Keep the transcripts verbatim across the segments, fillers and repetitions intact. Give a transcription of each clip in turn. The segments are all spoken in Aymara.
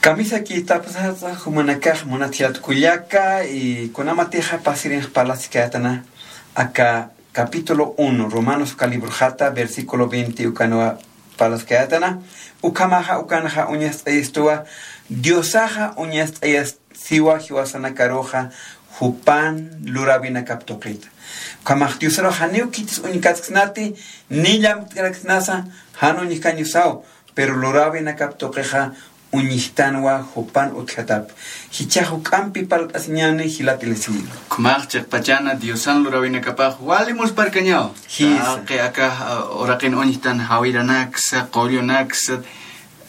Kamisaki tapsatsa jumanakax munat jilat kullaka, y kunamatixa pasirinx parlaskayätana aka capítulo uno, Romanos uka libroxata, versículo veinte ukanwa parlaskayätana, ukhamaxa ukanxa uñast'ayistuwa, Diosaxa uñast'ayasiwa jiwasanakaruxa jupan luräwinakap tuqita. Ukhamax Diosarux janiw khitis uñkasksnati, ni llamk'araksnasa, jan uñjkañusaw, pero luräwinakap tuqixa uñjtanwa jupan utjatap. Jichhax juk'ampi parlt'asiñäni jilat Eliseo. Ukhamax chiqpachana Diosan luräwinakapax wali muspharkañaw. Jisa. Taqi aka, uh, uraqin uñjtan jawiranaksa, qullunaksa,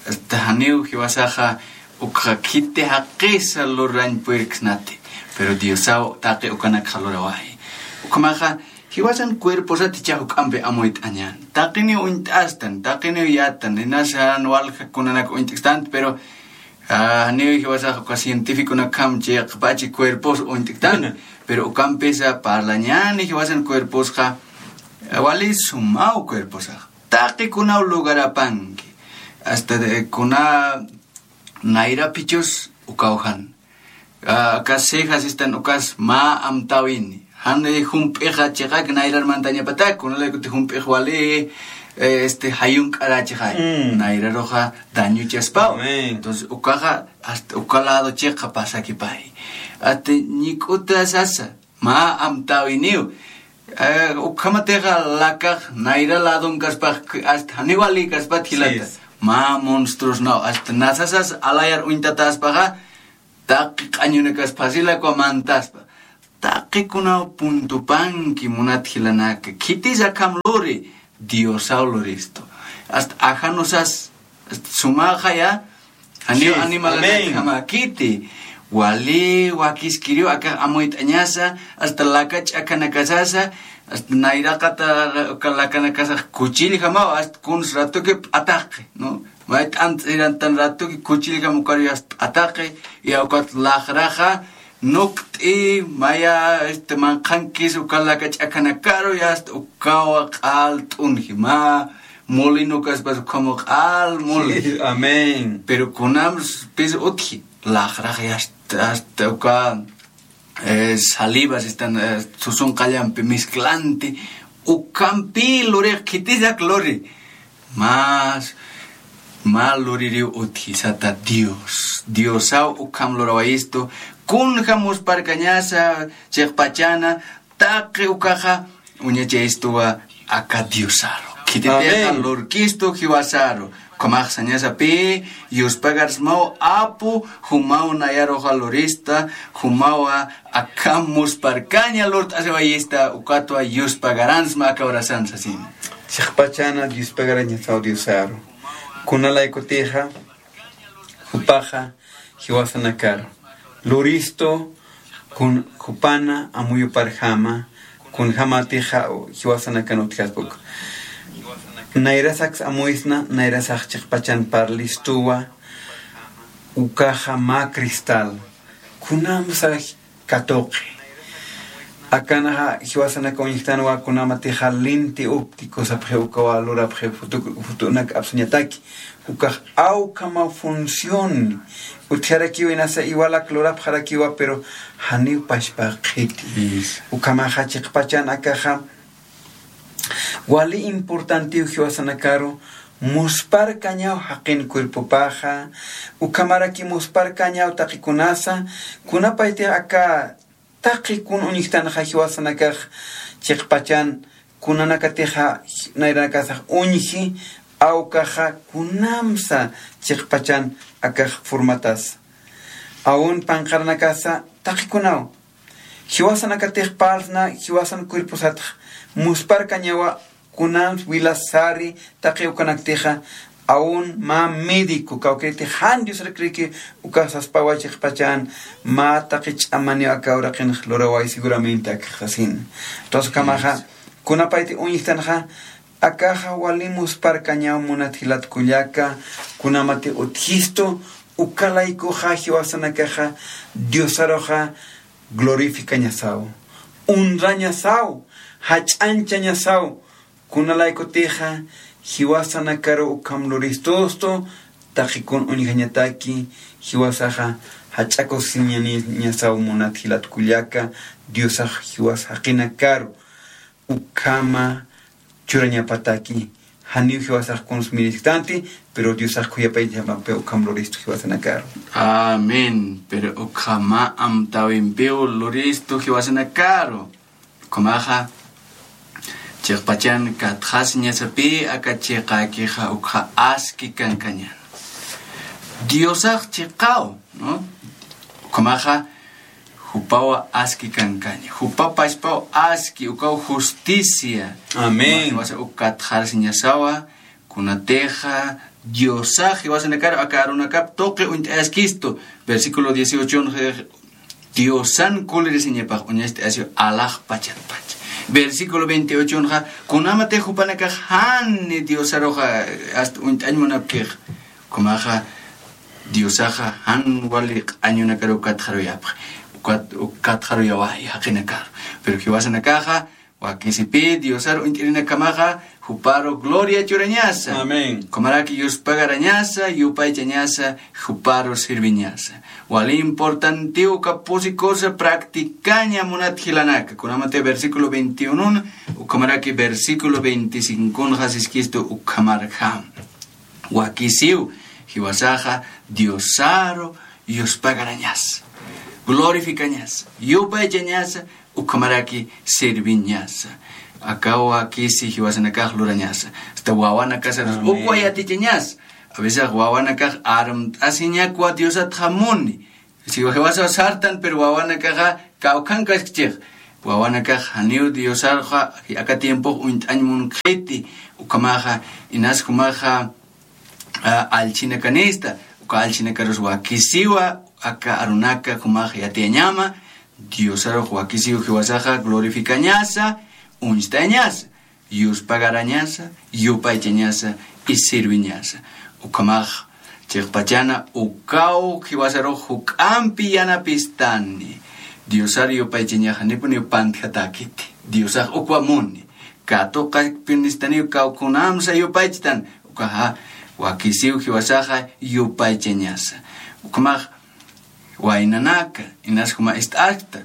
hasta janiw jiwasaxa ukxa khiti jaqisa lurañ puyirksnati. Pero Diosaw taqi ukanakxa lurawayi. Ukhamaxa jiwasan cuerposat jichhax juk'ampi amuyt'añän. Taqiniw uñt'astan, taqiniw yätan, inas jan walja kunanak uñt'kstant, pero, ah, janiw jiwasax uka científiconakjam chiqpachi cuerpos uñt'ktan, pero ukampisa parlañäni jiwasan cuerposxa, ah, wali sumaw cuerposax. Taqi kunaw lugarapanki. Hasta de, kuna nayra phichhus ukaw jan. Ah, aka cejas sistan ukas mä amtäwini. Jan, eh, jump'ixa chiqak nayrar mantañapatak, kunalaykutix jump'ix wali, eh, este, jayunk'arächixay. Mm. Nayraruxa dañuchaspaw. Amén. Entonces, ukaxa, hasta uka lado chiqa pasakipay. Hasta ñik'uta sasa, mä amtäwiniw. Eh, ukhamatixa lakax nayra ladonkaspax, hasta janiw walikaspat jilata. Sí. Mä monstruosnaw, hasta nasasas alayar uñtataspaxa, taqi q'añunakas phasilakwa mantaspa. Taqi kunaw puntupanki munat jilanaka. Khitis akham luri, Diosaw luristu. Hasta ajanusas, hasta sumaxaya, janiw animalanakjama khiti. Wali wakiskiriw akax amuyt'añasa, hasta laka ch'akanakasasa, hasta nayraqata uka lakanakasax kuchillkamaw, hasta kuns ratuki p'ataqi, ¿no? Mayt'ant sirantan ratuki kuchillkam ukaru yasta p'ataqi, y ukat laqraxa, nukt'i, maya, este, manqhankis uka laka ch'akanakaru, yasta ukawa q'al t'unji, mä molinokaspas ukhamaw q'al muli. Sí, amén. Pero kunams pis utji, laqrax yasta, hasta uka, eh, salivas están, eh, susunqallampi mezclanti, ukhampi lurix khitisak luri. Más, mä luririw utji sata Dios. Diosaw ukham lurawayistu, kunja muspharkañasa chiqpachana, taqi ukaxa uñachayistuwa aka Diosaru. Khititixa lurkistu jiwasaru. Ukhamax sañasapï, yuspagarsmaw apu, jumaw nayaruxa lurista, jumawa akham muspharkaña lurt'asiwayista, ukatwa yuspagaransma aka horasan sasin. Chiqpachana yuspagarañasaw Diosaru. Kunalaykutixa, jupaxa, jiwasanakar luristu, kun jupana amuyuparjama, kunjamatixa jiwasanakan utjaspa uka. Nayrasaks amuyisna, nayrasax chiqpachan parlistuwa, ukaxa mä cristal, kunamsa katuqi. Akanxa jiwasanaka uñjtanwa kunamatixa lente óptico sapxi ukawa lurapxi futu-, futunak apsuñataki. Ukax awkhama función. Utjarakiwa inasa iwalak lurapxarakiwa, pero janiw pachpa qhiti. Eso. Ukhamaxa chiqpachan akaxa wali importantiw jiwasanakaru, muspharkañaw jaqin cuerpopaxa, ukhamaraki muspharkañaw taqikunasa, kunapaytix aka taqi kun uñjtanxa jiwasanakax chiqpachan, kunanakatixa nayranakasax uñji, awkaxa kunamsa chiqpachan akax formatasa. Aun panqaranakasa taqikunaw. Jiwasanakatix parlsna, jiwasan cuerposatx muspharkañawa, kunans wilas sari, taqi ukanaktixa, aun mä médico, kawkïriti jan Diosar creyki, ukax saspawa chiqpachan, mä taqi ch'amaniw aka uraqinx luraway seguramente akax sasin. Entonces, ukhamaxa, kunapayti uñjtanxa, akaxa wali muspharkañaw munat jilat kullaka, kunamati utjistu, uka laykuxa jiwasanakaxa, Diosaruxa, glorificañasaw, honrañasaw, jach'añchañasaw, kunalaykutixa, jiwasanakaru ukham luristustu, taqikun uñjañataki, jiwasaxa jach'akusiñaniñasaw munat jilat kullaka, Diosax jiwas jaqinakaru ukhama churañapataki, janiw jiwasax kuns mirisktanti, pero Diosax khuyapaychamapi ukham luristu jiwasanakaru. Amén. Pero ukhama amtawimpiw luristu jiwasanakaru. Ukhamaxa, chiqpachan katxasiñasapï aka chiqakixa ukxa aski kankañäni. Diosax chiqaw, ¿no? Ukhamaxa, jupawa aski kankaña. Jupa pachpaw aski, ukaw justicia. Amén. Ukhamaxa, uk katxarasiñasawa, kunatixa Diosax jiwasanakar aka arunakap tuqi uñt'ayaskistu. Versículo dieciocho, Diosan kulirisiñapax uñacht'ayasiw alaxpachatpach. Versículo veintiocho, kunamatix jupanakax jani Diosaruxa hasta uñt'añ munapkix, ukhamaxa Diosaxa jan wali q'añunakaru katxaruyapxi, ukat-, katxaruyawa jaqinakaru. Pero jiwasanakaxa, wakisipï Diosar uñt'irinakamaxa, juparu gloria churañasa. Amén. Ukhamaraki yuspagarañasa, yupaychañasa, juparu sirviñasa. Wali importantiw uka pusi cosa practicaña munat jilanaka. Kunamati versículo veintiuno, ukhamaraki versículo veinticinco siskistu ukhamarjam. Wakisiw, jiwasaxa Diosaru yuspagarañasa, glorificañasa, yupaychañasa, ukhamaraki sirviñasa. Akaw wakisi jiwasanakax lurañasa. Hasta wawanakasarus, amén, ukwa yatichañasa. A veces wawanakax armt'asiñakwa Diosatxa muni. Si jiwasaw sartan, pero wawanakaxa kawkhankaskchix. Wawanakax janiw Diosarxa aka tiempox uñt'añ munkxiti. Ukhamaxa, inas jumaxa, a, allchhinakanista, uka allchhinakarus wakisiwa, aka arunaka jumax yatiyañama, Diosarux wakisiw jiwasaxa glorificañasa, uñstañasa, yuspagarañasa, yupaychañasa, y sirviñasa. Ukhamax, chiqpachana, ukaw jiwasarux juk'ampi yanapistani. Diosar yupaychañaxa janipuniw pantjatäkiti. Diosax ukwa muni. Katuqapinistaniw kawkhanamsa yupaychtan. Ukaxa, wakisiw jiwasaxa yupaychañasa. Ukhamax, waynanaka, inas juma ist'askta,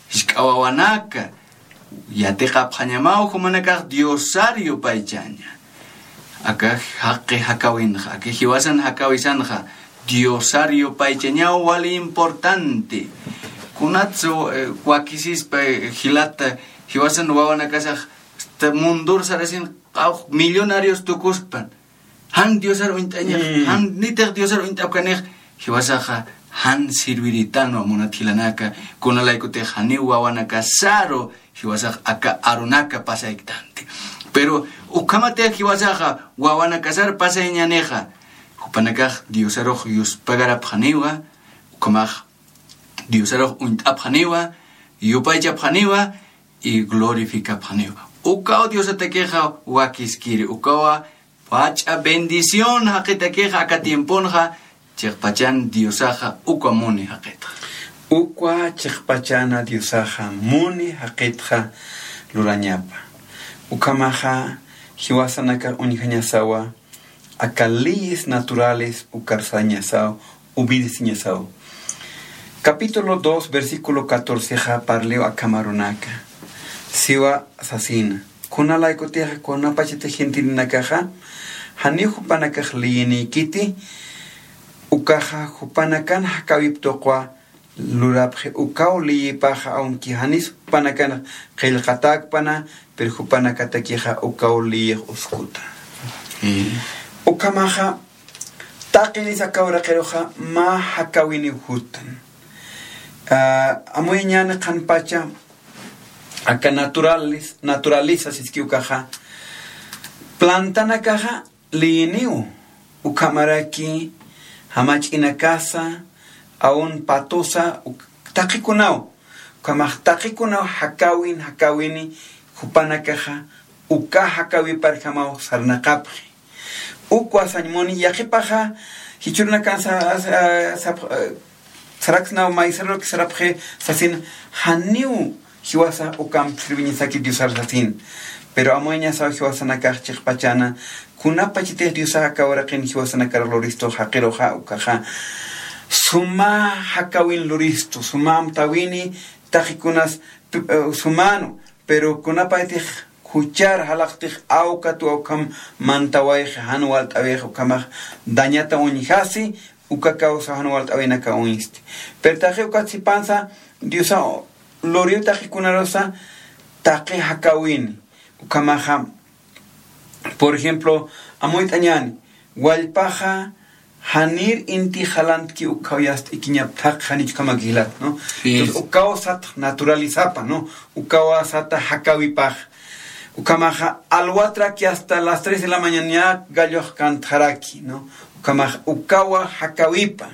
jisk'a wawanaka, yatiqapxañamaw jumanakax Diosar yupaychaña. Aka jaqi jakawinxa, aka jiwasan jakawisanxa, Diosar yupaychañaw wali importante. Kunatsa, eh, wakisispa, eh, jilata, jiwasan wawanakasax, hasta mundor sarasin, q'awx millonarios tukuspan. Jan Diosar uñt'añax, mm, jan nitix Diosar uñt'apkanix, jiwasaxa jan sirviritanwa munat jilanaka, kunalaykutix janiw wawanakasaru, jiwasax aka arunaka pasayktanti. Pero ukhamatix jiwasaxa wawanakasar pasayañänixa, jupanakax Diosarux yuspagarapxaniwa, ukhamax Diosarux uñt'apxaniwa, yupaychapxaniwa, y glorificapxaniwa. Ukaw Diosatakixa wakiskiri, ukawa jach'a bendición jaqitakixa aka tiemponxa, chiqpachan Diosaxa ukwa muni jaqitxa. Ukwa chiqpachana Diosaxa muni jaqitxa lurañapa. Ukhamaxa jiwasanakax uñjañasawa, aka leyes naturales ukar sañasaw, obedeciñasaw. Capítulo dos, versículo catorce xa parliw akham arunaka. Siwa sasina. Kunalaykutixa, kunapachatix gentilnakaxa, janiw jupanakax leyiniykiti, ukaxa jupanakan jakäwip tuqwa lurapxi, ukaw leyipaxa, aunque janis jupanakan qillqatäkpana, pero jupanakatakixa ukaw leyix uskuta. Mm. Ukhamaxa, taqinisa aka uraqiruxa mä jakäwiniw juttan. Ah, amuyañäni qhanpacha, aka naturales-, naturaleza siski ukaxa, plantanakaxa leyiniw, ukhamaraki jamach'inakasa, aun patusa, uk-, taqikunaw, ukhamax taqikunaw jakäwin, jakäwini, jupanakaxa uka jakäwiparjamaw sarnaqapxi. Ukwa sañ muni, yaqhipaxa, jichhürunakan sa-, sa-, sap-, saraksnaw maysaruruk sarapxi sasin, janiw jiwasa ukamp sirviñasaki Diosar sasin. Pero amuyañasaw jiwasanakax chiqpachana, kunapachatix Diosax aka uraqin jiwasanakar luristu jaqiruxa, ukaxa suma jakawin luristu, suma amtawini, taqikunas tu- eh, sumanu, pero kunapaytix juchar jalaqtix awkatwa ukham mantawayxi, jan walt'awix ukhamax dañata uñjasi, uka kawsa jan walt'awinaka uñsti. Pero taqi ukat sipansa, Diosa luriw taqikunarusa taqi jakawini, ukhamaxa, por ejemplo, amuyt'añani, wallpaxa janir inti jalantki ukhaw yast'ikiñap thaq janichkamak jilat, ¿no? Sí. Entonces, ukaw sat naturalizapa, ¿no? Ukaw sata jakawipax. Ukhamaxa alwatraki hasta las tres de la mañana gallox kantxaraki, ¿no? Ukhamaxa ukawa jakawipa.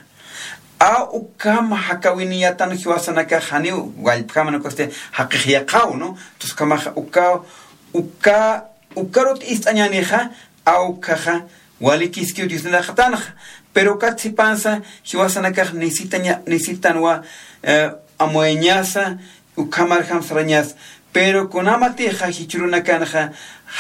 A ukham jakawiniyatan jiwasanakax janiw wallpjaman ukasti jaqix yaqhaw, ¿no? Entonces, ukhamaxa ukaw, uka, ukarut ist'añanixa, awkhaxa walikiskiw Diosniraqatanxa. Pero ukat sipansa jiwasanakax necesitaña, necesitanwa, eh, amuyañasa, ukhamarjam sarañas. Pero kunamatixa jichhürunakanxa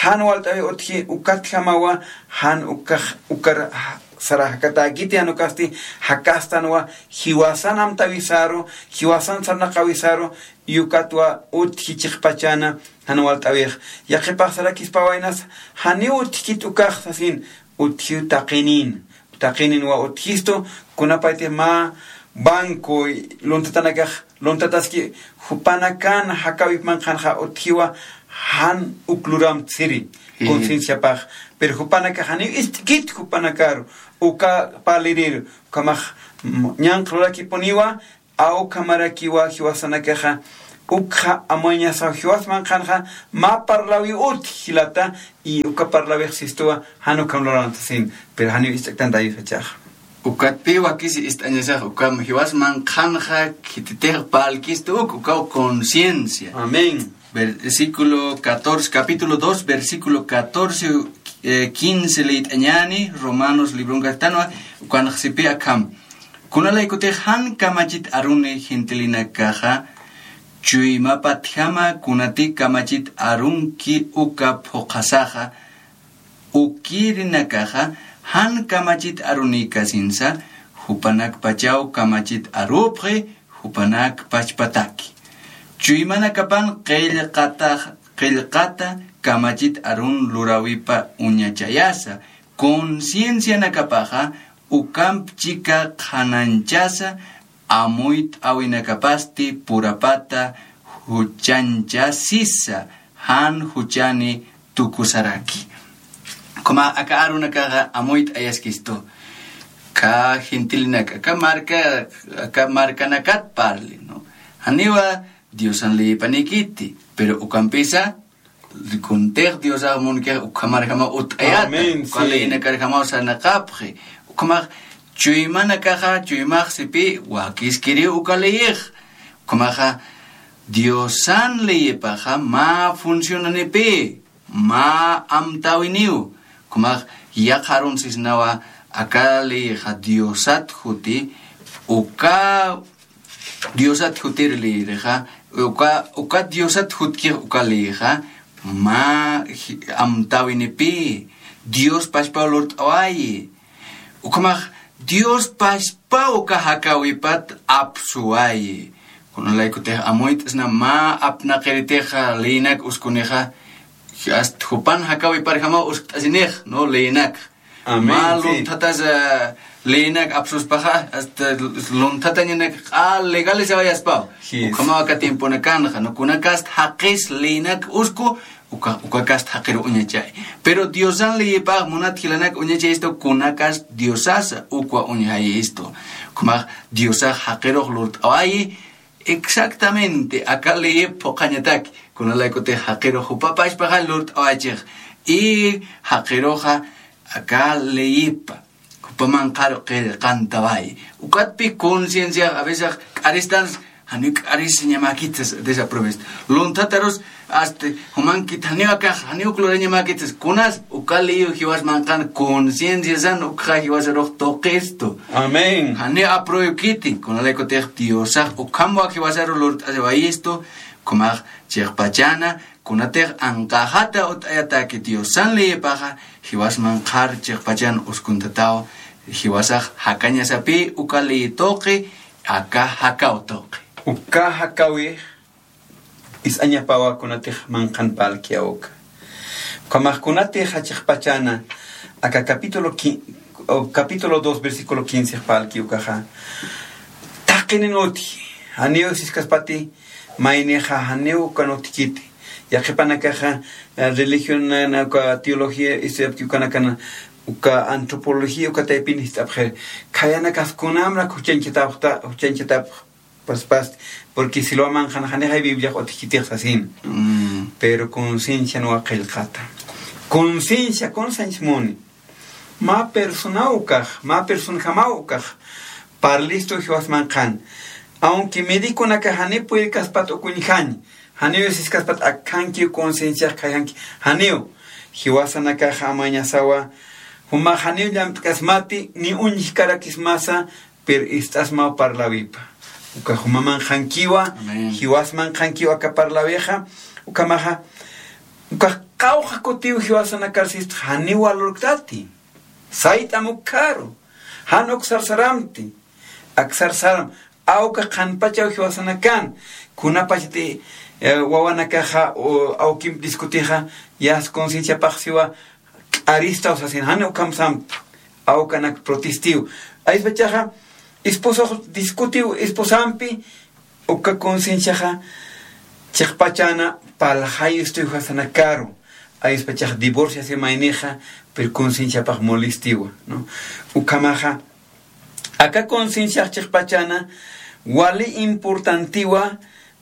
jan walt'awi utji, ukatjamawa jan ukax, ukar sara jakatäkiti, jan ukasti jakastanwa jiwasan amtawisaru, jiwasan sarnaqawisaru, y ukatwa utji chiqpachana jan walt'awix. Yaqhipax sarakispa waynas, janiw utjkit ukax sasin, utjiw taqinin. Taqinin wa utjistu, kunapaytix mä banco luntatanakax, luntataski, jupanakan jakawip manqhanxa utjiwa jan uk luramtsiri, sí, concienciapax. Pero jupanakax janiw ist'kit jupanakaru, uka parliriru, ukhamax, mm, ñanqha lurakipuniwa, a ukhamarakiwa jiwasanakaxa, ukxa amuyañasaw jiwas manqhanxa, mä parlawi utji jilata, y uka parlawix sistuwa, jan ukham luräntasin, pero janiw ist'ktanta Diosachaxa. Ukatpï wakisi ist'añasax, ukham jiwas manqhanxa, khititix parlkistu uk, ukaw conciencia. Amén. Versículo catorce, capítulo dos, versículo catorce, eh, quince liyt'añäni, Romanos libronkaxtanwa, ukanx sipï akham. Kunalaykutix jan kamachit aruni gentilinakaxa, chuymapatjama kunati kamachit arunki uka phuqhasaxa, ukirinakaxa jan kamachit arunïkasinsa, jupanakpachaw kamachit arupxi, jupanak pachpataki. Chuymanakapan qillqata, qillqata kamachit arun luräwipa uñachayasa, conciencianakapaxa ukamp chika qhanañchasa, amuyt'äwinakapasti purapata juchañchasisa, jan juchani tukusaraki. Ukhama aka arunakaxa amuyt'ayaskistu. Aka gentilinaka, aka marka, aka markanakat parli, ¿no? Janiwa Diosan leyipanikiti, pero ukampisa, kuntix Diosax munkix ukhamarjamaw utt'ayata, amén, uka, sí, leyinakarjamaw sarnaqapxi. Ukhamax chuymanakaxa, chuymax sipï, wakiskiriw uka leyix. Ukhamaxa, Diosan leyipaxa mä funcionanipï, mä amtäwiniw. Ukhamax yaqha arun sisnawa, aka leyixa Diosat juti, uka Diosat jutir leyirixa, uka, uka Diosat jutkix uka leyixa, mä ji-, amtäwinipï, Dios pachpaw lurt'awayi. Ukhamax Dios pachpaw uka jakäwipat apsuwayi. Kunalaykutix amuyt'sna mä apnaqiritix leyinak uskunixa, hasta jupan jakäwiparjamaw uskt'asinix, ¿no? Leyinak. Amén, sí. Mä lunthatas, eh, leyinak apsuspaxa, hasta lunthatañanak q'al legalizawayaspaw. Jis. Ukhamaw aka tiemponakanxa, ¿no? Kunakast jaqis leyinak usku, uka, ukakast jaqiru uñachay. Pero Diosan leyipax munat jilanak uñachayistu kunakast Diosasa ukwa uñjayistu. Ukhamax Diosax jaqirux lurt'awayi, exactamente aka leyip phuqhañataki, kunalaykutix jaqirux jupa pachpaxa lurt'awaychix, y jaqiruxa aka leyipa jupa manqharu qillqantawayi. Ukatpï concienciax a veces k'aristan, janiw k'arisiñamäkit sas, desaprovecho. Lunthatarus, hasta, jumankit janiw akax, janiw uk lurañamäkit sas, kunas uka leyiw jiwas manqhan concienciasan ukxa jiwasarux tuqistu. Amén. Janiw apruebkiti, kunalaykutix Diosax ukhamwa jiwasaru lurt'asiwayistu, Ukhamax chiqpachana, kunatix anqaxata ut'ayataki Diosan leyipaxa, jiwas manqhar chiqpachan uskuntataw, jiwasax jakañasapï uka leyi tuqi, aka jakaw tuqi. Uka jakawix ist'añapawa kunatix manqhan parlkiw uka. Ukhamax kunatix chiqpachana, aka capítulo qui-, o capítulo dos, versículo quince parlki ukaxa. Taqinin utji, janiw siskaspati, maynixa janiw ukan utjkiti. Yaqhipanakaxa, eh, religión na, na uka teología, este, ukanakana, uka antropología, uka taypin jist'apxi. Khayanakas kunamrak juchañchatapxta, juchañchatapx, pues, pas, porque si lo aman qan, janixay Bibliax utjkitix sasin. Mm. Pero conciencianwa qillqata. Conciencia, conciencia muni. Mä personaw ukax, mä personjamaw ukax, parlistu jiwas manqhan. Aunque mediconakax janiw purirkaspat ukañjañ, janiw siskaspat akankiw concienciax khayjanki, janiw. Jiwasanakax amañasawa, jumax janiw llamt'kasmati, ni uñjkarakismasa, pero ist'asmaw parlawipa. Uka juma manqhankiwa, amén, jiwas manqhankiwa aka parlawixa, ukhamaxa, ukax qawqha kutiw jiwasanakar sist janiw walurktati. Sayt'am ukkharu. Jan uk sarsaramti. Ak sarsaram. Awka qhanpachaw jiwasanakan. Kunapachati, eh, wawanakaxa, o, awkimp discutixa, yast concienciapax siwa, k'aristaw sasin. Jan ukham samti. Awkanak protestiw. Ayspachaxa, esposox discutiw esposampi, uka concienciaxa chiqpachana parlxayistu jiwasanakaru. Ayspachax divorciasi maynixa, pero concienciapax molestiwa, ¿no? Ukhamaxa, aka concienciax chiqpachana wali importantiwa,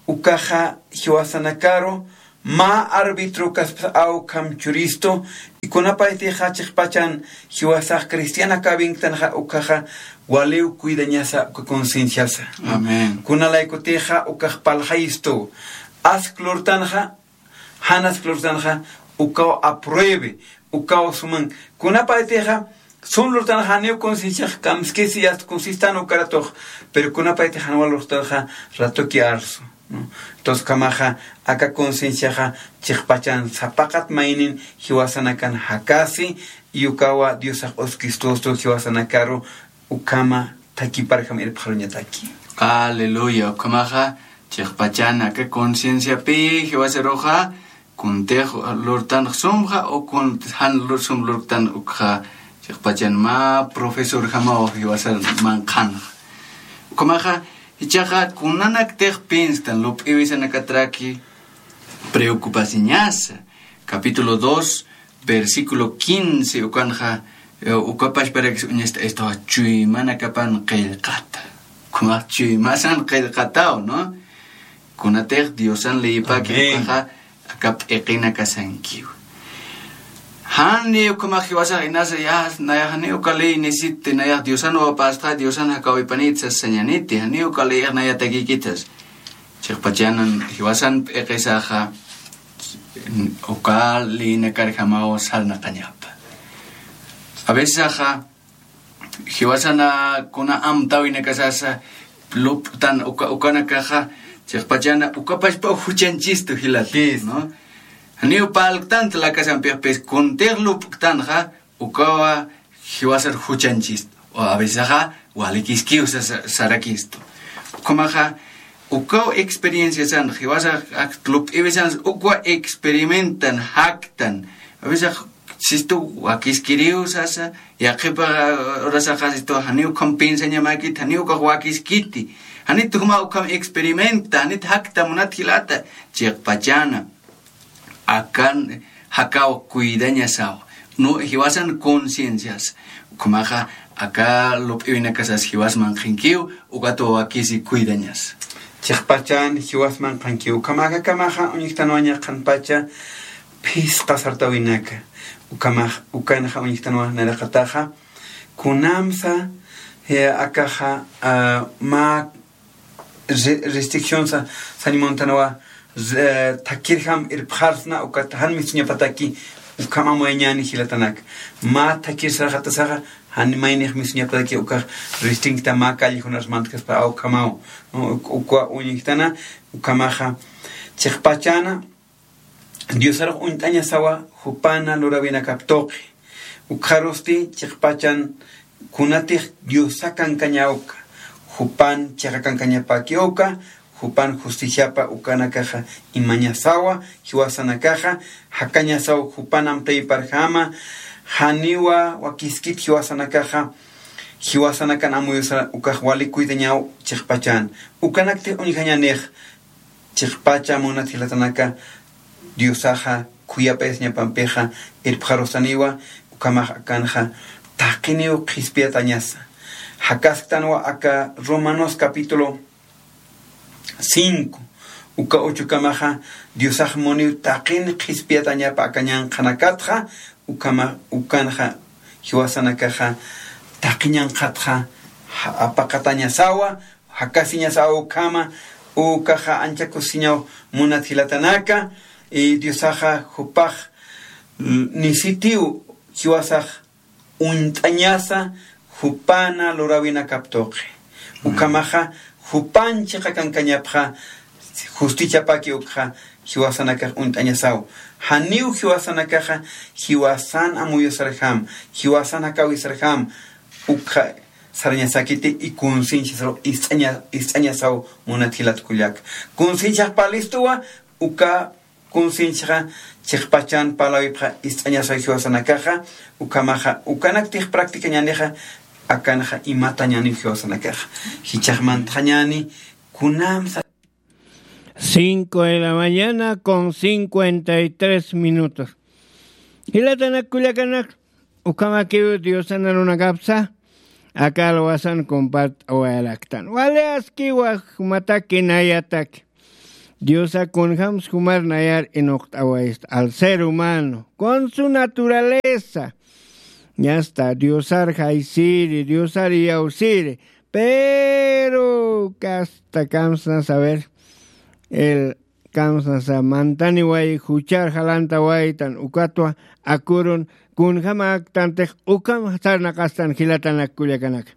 ukaxa jiwasanakaru, mä árbitro kaspas awkham churistu, y kunapaytixa chiqpachan jiwasax cristiana kawinktanxa ukaxa waliw cuidañasa uka concienciasa. Amén. Kunalaykutixa ukax parlxayistu. Ask lurtanxa, jan ask lurtanxa, ukaw apruebe, ukaw suman. Kunapaytixa, sum lurtanxa janiw concienciax kamskisi, yast conciencian ukaratux, pero kunapaytixa jan wal lurtanxa ratuki arsu, ¿no? Entonces, ukhamaxa, aka concienciaxa chiqpachan sapaqat maynin jiwasanakan jakasi, y ukawa Diosax uskistustu jiwasanakaru ukhama thakiparjam irpxaruñataki. Aleluya, ukhamaxa, chiqpachan aka concienciapi jiwasaruxa, kuntix lurtanx sumxa, o kun jan lur-, sum lurtan ukxa, chiqpachan mä profesorjamaw jiwasar manqhanxa. Ukhamaxa, jichhaxa kunanaktix pienstan lup'iwisanakatraki preocupasiñasa. Capítulo dos, versículo quince, ukanxa, eh, uka pachparakis uñasta, esto chuymanakapan qillqata. Ukhamax chuymasan qillqataw, ¿no? Kunatix Diosan leyipaki, amén, ukaxa, aka p'iqinakasankiw. Jani ukhamax jiwasax inasa, ya, nayax jani uka ley necesite, nayax Diosan wawapasta, Diosan jakawipanit sas sañaniti, jani uka leyx nayatakïkit sas. Chiqpachanan jiwasan p'iqisaxa, uka leynakarjamaw sarnaqañapa. A veces axa, jiwasana kuna amtäwinakasasa, lup'tan uka, ukanakaxa, chiqpachana, uka pachpa juchañchistu jilata, sí, ¿no? Janiw parlktant lakasampixpis, kuntix lup'ktanxa, ukawa jiwasar juchañchistu. O a veces axa, walikiskiw sa-, sa-, sarakistu. Ukhamaxa, ukaw experienciasan, jiwasa ak lup'iwisan, ukwa experimentan, jaktan. A veces ax, sistu wakiskiriw sasa, yaqhipa, uh, urasaxa sistu janiw ukham piensañamäkit, janiw ukax wakiskiti. Janit juma ukham experimenta, janit jakta munat jilata, chiqpachana. Akan jakaw cuidañasaw. No, jiwasan conciencias. Ukhamaxa aka lup'iwinakasas jiwas manqhankiw, ukat wawakisi cuidañas. Chiqpachan jiwas manqhankiw. Ukhamaxa kamaxa uñjtanwaña qhanpacha phisqa sartawinaka. Ukhamax, ukanxa uñjtanwa nayraqataxa. Kunamsa, eh, akaxa, ah, mä re-, restricción sa-, sañ muntanwa, re-, thakirjam irpxarsna ukat jan mist'uñapataki, ukham amuyañäni jilatanaka. Mä thakir sarxatasaxa, jan maynix mist'uñapataki ukax restringta mä callejonar mantkaspa ukhamaw. Uk-, ukwa uñjtana, ukhamaxa, Chiqpachana diosarux uñt'añasawa jupana lurawinakap tuqi. Ukxarusti chiqpachan kunatix diosa kankañawka, jupan chiqa kankañapakiwka, jupan justiciapa ukanakaxa imañasawa. Jiwasanakaxa jakañasaw jupan amtayparjama. Janiwa wakiskit jiwasanakaxa jiwasanakan amuyusa ukax wali cuidañaw. Chiqpachan ukanaktix uñjañanix chiqpacha munat jilatanaka diosaxa khuyapayasiñapampixa irpxarusaniwa. Ukhamax akanxa taqiniw qhispiyatañasa. Jakasktanwa aka romanos capítulo cinco uka uchukamaxa diosax muniw taqin qhispiyatañapa aka ñanqhanakatxa. Ukhama ukanxa jiwasanakaxa taqi ñanqhatxa apaqatañasawa. Jakasiñasawa ukhama ukaxa ancha kusisiñaw. Munat jilatanaka diosaxa jupax nisitiw jiwasax uñt'añasa jupana lurawinakap tuqi. Ukhamaxa jupan chiqa kankañapxa justichapaki ukxa jiwasanakax uñt'añasaw. Janiw jiwasanakaxa jiwasan amuyusarjam, jiwasan jakawisarjam ukxa sarañasakiti. Y concienciasaw ist'añasaw munat jilat kullaka. Concienciax palistuwa uka concienciaxa chiqpachan palawipxa ist'añasaw jiwasanakaxa. Ukhamaxa ukanaktix practicañanixa akanxa imatañaniw jiwasanakaxa. Jichhaxmantxañani kunamsa cinco de la mañana con cincuenta y tres minutos. Jilatanak kullakanak, ukhamakiw diosan arunakapsa akal wasan compart'awayaraktan wali askiwa jumataki nayataki. Diosa kunjams jumar nayar inuqt'awaysta al ser humano con su naturaleza. Ñasta diosar jaysiri diosar iyawsiri. Pero kasta kamsna saber el kamsnasa mantaniway juchar jalantawaytan ukatwa akurun kunjamäktantix. Ukham sarnaqastan jilatanak kullakanak.